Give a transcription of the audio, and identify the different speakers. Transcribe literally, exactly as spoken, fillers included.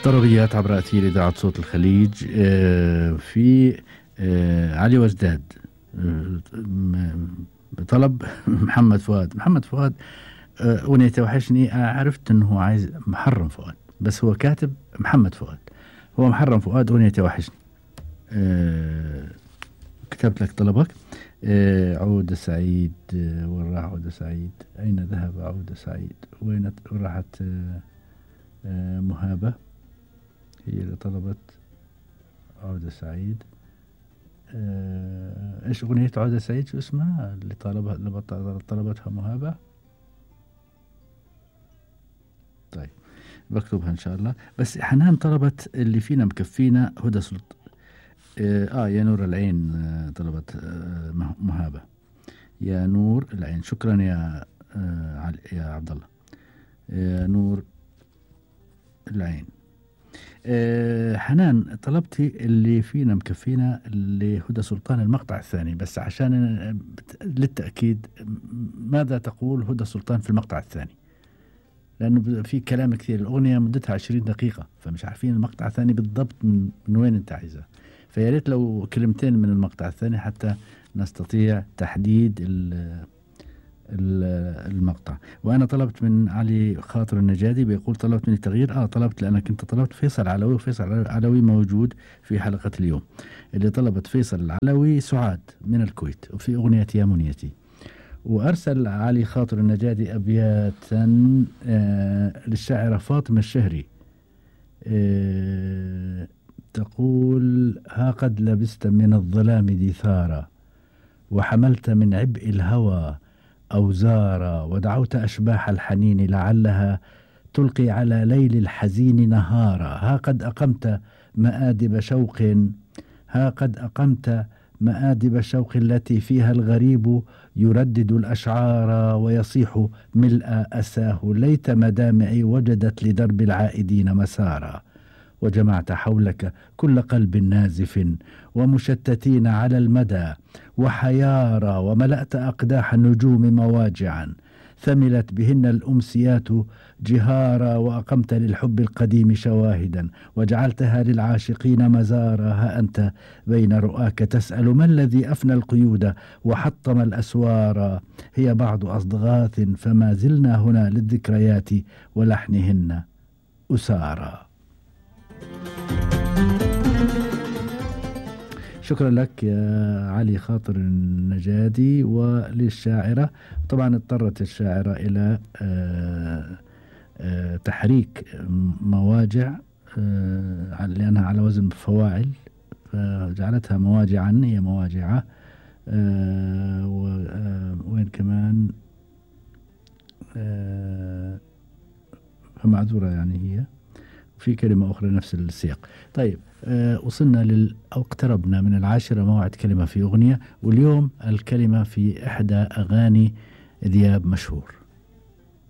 Speaker 1: طربيات عبر أثير إذاعة صوت الخليج. في علي وجداد بطلب محمد فؤاد. محمد فؤاد أغنية توحشني، عرفت أنه عايز محرم فؤاد، بس هو كاتب محمد فؤاد، هو محرم فؤاد أغنية توحشني. كتبت لك طلبك. عودة سعيد، وين راح عودة سعيد؟ أين ذهب عودة سعيد؟ وين راحت مهابة؟ هي اللي طلبت عودة سعيد. ايش اغنية عودة سعيد؟ شو اسمها اللي طلبها اللي طلبتها مهابة؟ طيب بكتبها ان شاء الله. بس حنان طلبت اللي فينا مكفينا هدى سلط. اه يا نور العين طلبت آه مهابة. يا نور العين، شكرا يا آه علي يا عبد الله. يا نور العين. أه حنان طلبتي اللي فينا مكفينا اللي هدى سلطان المقطع الثاني، بس عشان للتأكيد ماذا تقول هدى سلطان في المقطع الثاني؟ لأنه في كلام كثير، الأغنية مدتها عشرين دقيقة، فمش عارفين المقطع الثاني بالضبط من, من وين أنت عايزه. فياريت لو كلمتين من المقطع الثاني حتى نستطيع تحديد المقطع. وأنا طلبت من علي خاطر النجادي، بيقول طلبت مني تغيير. آه طلبت لأنك أنت طلبت فيصل علوي، وفيصل علوي موجود في حلقة اليوم. اللي طلبت فيصل العلوي سعاد من الكويت، وفي أغنية يا منيتي. وأرسل علي خاطر النجادي أبياتا آه للشاعرة فاطمة الشهري. آه تقول: ها قد لبست من الظلام دثارا، وحملت من عبء الهوى أوزارا، ودعوت أشباح الحنين لعلها تلقي على ليل الحزين نهارا. ها قد أقمت مآدب شوق ها قد أقمت مآدب شوق التي فيها الغريب يردد الأشعار ويصيح ملء أساه، ليت مدامعي وجدت لدرب العائدين مسارا. وجمعت حولك كل قلب نازف ومشتتين على المدى وحيارى، وملأت أقداح النجوم مواجعا ثملت بهن الأمسيات جهارا، وأقمت للحب القديم شواهدا وجعلتها للعاشقين مزارا. ها أنت بين رؤاك تسأل ما الذي أفنى القيود وحطم الأسوار، هي بعض أصدغاث فما زلنا هنا للذكريات ولحنهن أسارا. شكرا لك يا علي خاطر النجادي. وللشاعرة طبعا اضطرت الشاعرة إلى آآ آآ تحريك مواجع لأنها على وزن فواعل، فجعلتها مواجعا، هي مواجعة. وين كمان فمعذورة يعني هي في كلمة أخرى نفس السياق. طيب أه وصلنا لل أو اقتربنا من العاشرة، موعد كلمة في أغنية، واليوم الكلمة في إحدى أغاني ذياب مشهور.